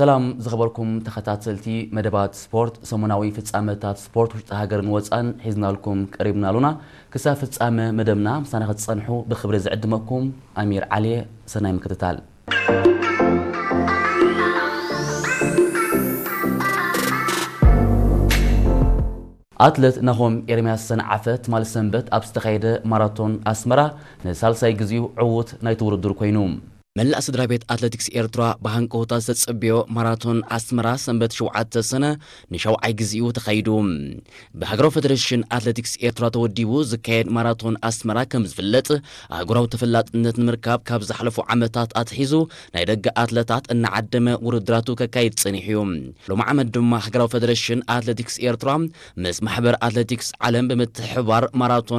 ሰላም ዝኸበርኩም ተኸታተልቲ መደባት ስፖርት፣ ሰሙናዊ ፍጻመታት ስፖርት ውሽጢ ሃገርን ወጻን ሒዝናልኩም ቀሪብና ኣሉና። ክሳብ ፍጻመ መደብና ምሳና ክትጸንሑ ብኽብሪ ዝዕድመኩም ኣሚር ዓሊ እየ። ሰናይ ምክትታል። ኣትለት ናሆም ኤርምያስ ሰንዓፈ ትማሊ ሰንበት ኣብ ዝተኻየደ ማራቶን ኣስመራ ንሳልሳይ ግዜኡ ዕዉት ናይቲ ውድድር ኮይኑ። መላእ ስድራ ቤት ኣትሌቲክስ ኤርትራ ብሃንቀውታ ዝተጸብዮ ማራቶን ኣስመራ ሰንበት ሸውዓተ ሰነ ንሻውዓይ ግዜኡ ተኻይዱ። ብሃገራዊ ፌደሬሽን ኣትሌቲክስ ኤርትራ ተወዲቡ ዝካየድ ማራቶን ኣስመራ ከም ዝፍለጥ ኣህጉራዊ ተፈላጥነት ንምርካብ ካብ ዝሓለፉ ዓመታት ኣትሒዙ ናይ ደገ ኣትለታት እናዓደመ ውድድራቱ ከካይድ ጸኒሑ እዩ። ሎሚ ዓመት ድማ ሃገራዊ ፌደሬሽን ኣትሌቲክስ ኤርትራ ምስ ማሕበር ኣትሌቲክስ ዓለም ብምትሕብባር ማራቶን